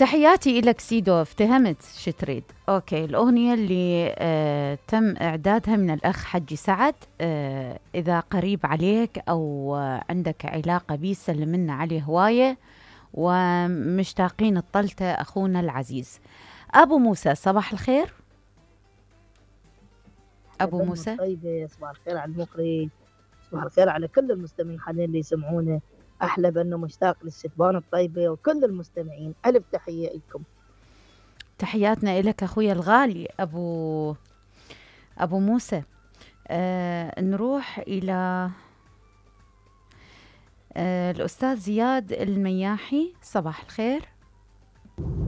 تحياتي إلك سيدو، افتهمت شو تريد. أوكي، الأغنية اللي تم إعدادها من الأخ حجي سعد، إذا قريب عليك أو عندك علاقة بيه سلم لنا عليه هواية، ومشتاقين الطلته أخونا العزيز. أبو موسى، صباح الخير. أبو موسى طيبة، صباح الخير على المقري، صباح الخير على كل المستمعين حاليا اللي يسمعونا. أحلى بأنه مشتاق للستبان الطيبة وكل المستمعين. ألف تحية لكم. تحياتنا إلك أخويا الغالي أبو موسى. نروح إلى الأستاذ زياد المياحي، صباح الخير.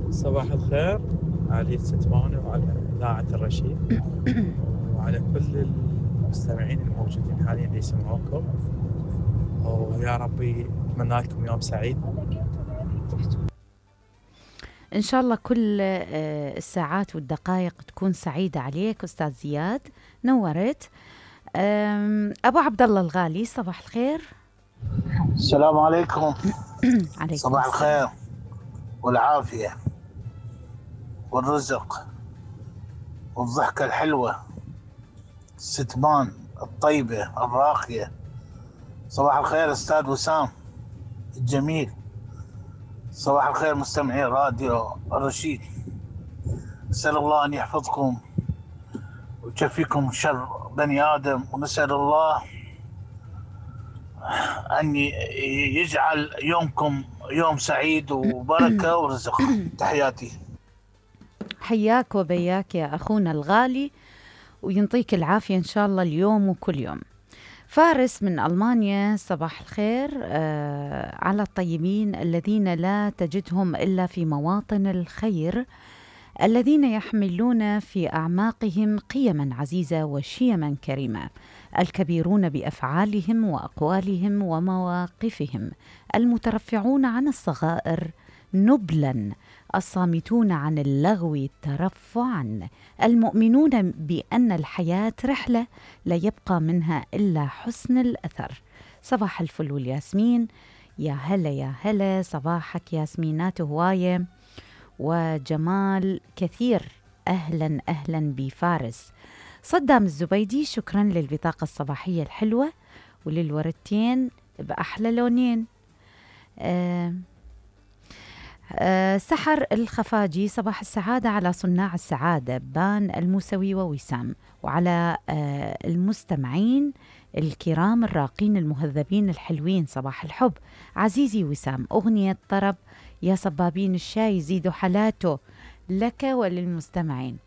صباح الخير على الستبان وعلى إذاعة الرشيد وعلى كل المستمعين الموجودين حاليا اللي يسمعوكم، ويا ربي أتمنى لكم يوم سعيد إن شاء الله. كل الساعات والدقائق تكون سعيدة عليك أستاذ زياد، نورت. أبو عبد الله الغالي، صباح الخير. السلام عليكم. عليكم صباح الخير والعافية والرزق والضحكة الحلوة، الستبان الطيبة الراقية. صباح الخير أستاذ وسام الجميل. صباح الخير مستمعي راديو الرشيد. أسأل الله أن يحفظكم ويكفيكم شر بني آدم، ونسأل الله أن يجعل يومكم يوم سعيد وبركة ورزق. تحياتي. حياك وبياك يا أخونا الغالي، وينطيك العافية إن شاء الله اليوم وكل يوم. فارس من ألمانيا، صباح الخير على الطيبين الذين لا تجدهم إلا في مواطن الخير، الذين يحملون في أعماقهم قيما عزيزة وشيما كريمة، الكبيرون بأفعالهم وأقوالهم ومواقفهم، المترفعون عن الصغائر نبلا، الصامتون عن اللغو ترفعا، المؤمنون بأن الحياة رحلة لا يبقى منها إلا حسن الأثر. صباح الفل والياسمين. يا هلا يا هلا، صباحك ياسمينات هواية وجمال كثير. أهلا أهلا بفارس. صدام الزبيدي، شكرا للبطاقة الصباحية الحلوة وللوردتين بأحلى لونين. سحر الخفاجي، صباح السعادة على صناع السعادة بان الموسوي ووسام، وعلى المستمعين الكرام الراقين المهذبين الحلوين. صباح الحب عزيزي وسام، أغنية طرب يا صبابين الشاي زيدوا حالاته لك وللمستمعين.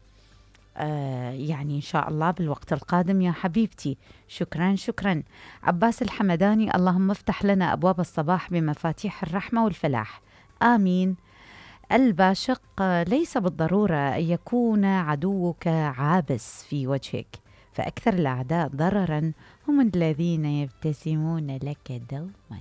يعني إن شاء الله بالوقت القادم يا حبيبتي. شكرا شكرا. عباس الحمداني، اللهم افتح لنا أبواب الصباح بمفاتيح الرحمة والفلاح، آمين. الباشق، ليس بالضرورة أن يكون عدوك عابس في وجهك، فأكثر الأعداء ضررا هم الذين يبتسمون لك دوما.